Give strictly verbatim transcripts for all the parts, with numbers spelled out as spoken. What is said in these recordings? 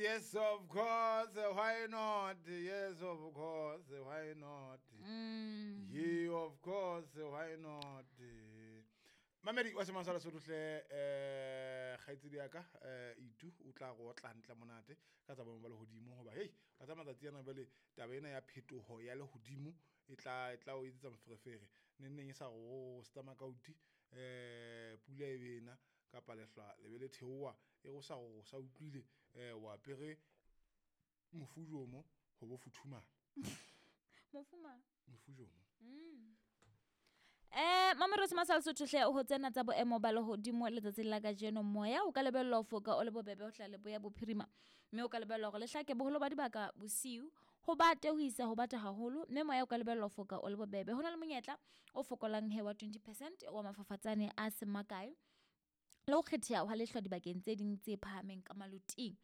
Yes, of course. Why not? Yes, of course. Why not? Mm. Yeah, of course. Why not? Mamedi wa semang sa Lesotho hle, eh kgaitsedi ya ka, eh Itu o tla go otla hantle monate ka tsa boemo ba lehodimo hoba hei ka tsa matsatsi ana jwale taba ena ya phetoho ya lehodimo e tla e tla o etsetsa moferefere. Neng neng e sa go stomach out, eh pula e bena kapa lehlwa le be le theoha e go sa go sa utlwile, eh wa apere mofujomo ho bo futhumala. Mofuma? Mofujomo. Mm. Eh, Mamelodi Sesotho sa Lesotho hle ho tsena tsa boemo ba lehodimo letsatsing la kajeno. Moya o ka lebellwa ho foka o le bobebe ho hla leboya bophirima, mme o ka lebellwa hore le hlake boholo ba dibaka bosiu, ho bate ho isa ho bata haholo, mme moya o ka lebellwa ho foka o le bobebe. Ho na le monyetla o fokolang he wa twenty percent wa mafafatsane a seng makae le ho kgetheha hwa lehlwa dibakeng tse ding tse phahameng ka maloting.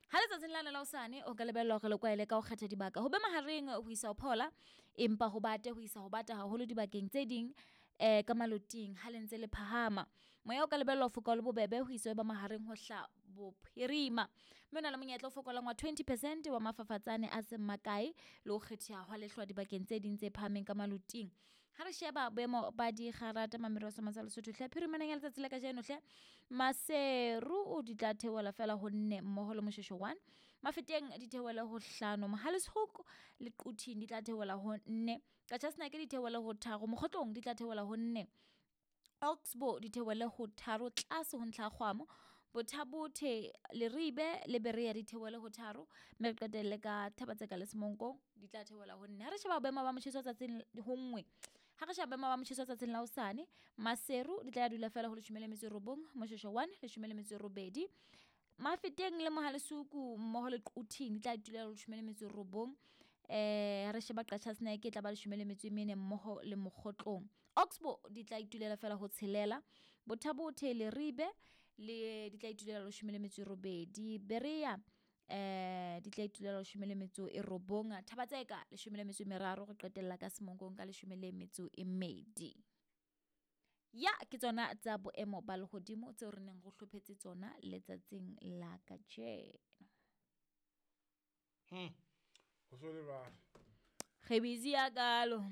Ha letsatsing lane la hosane o ka lebellwa hore le kwaele ka ho kgetha dibaka ho be mahareng ho isa ho phola, empa ho bate ho isa ho bata haholo dibakeng tse ding eh ka maloting ha le ntse le phahama. Moya o ka lebellwa ho foka o le bobebe ho isa ho ba mahareng ho hla bophirima, mme o na le monyetla o fokolang wa twenty percent wa mafafatsane a seng makae le ho kgetheha hwa lehlwa dibakeng tse ding tse phahameng ka maloting. Ha re sheba boemo ba dikgarata Mamelodi Sesotho sa Lesotho hle, phirimaneng ya letsatsi la kajeno hle, Maseru o di tla theohela fela ho nne mmoho le Moshweshwe one, Mafeteng di theohele ho hlano, Mohale's Hoek le Quthing di tla theohela ho nne, Qacha's Nek di theohele ho tharo, Mokhotlong di tla theohela ho nne, Oxbow di theohele ho tharo tlase ho ntlha ya kgwamo, Botha-Bothe, Leribe le Berea di theohele ho tharo, mme re qetelle ka Thaba-Tseka le Semonkong di tla theohela ho nne. Ha re sheba boemo ba motjheso tsatsing ho nngwe, ha re sheba boemo ba motjheso tsatsing la hosane, Maseru di tla dula fela ho leshome le metso e robong, Moshweshwe one leshome le metso e robedi, Mafeteng le Mohale's Hoek mmoho le Quthing di tla dula leshome le metso e robong. Eh re sheba Qacha's Nek e tla ba leshome le metso e mene mmoho le Mokhotlong. Oxbow di tla itulela fela ho tshelela, Botha-Bothe, Leribe le di tla itulela leshome le metso e robedi, Berea eh di tla itulela leshome le metso e robong, Thaba-Tseka leshome le metso e meraro, re qetella ka Semonkong ka leshome le metso e mmedi. Ya ke tsona tsa boemo ba lehodimo tseo re neng re hlophetse tsona letsatsing la kajeno. Hmm. Ho so le jwalo. Re busy ya kalo.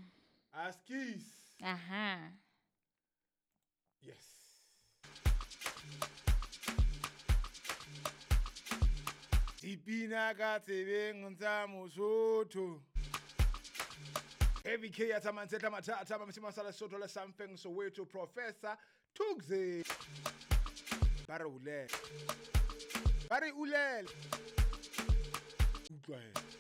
Askies. Aha. Yes. Dipina ka tsebeng tsa Mosotho. Heavy K ya tsamaya tla mathata ba mosima sa Lesotho le something Soweto Professor Thugze. Ba re ulele. Ba re ulele. Utlwa he.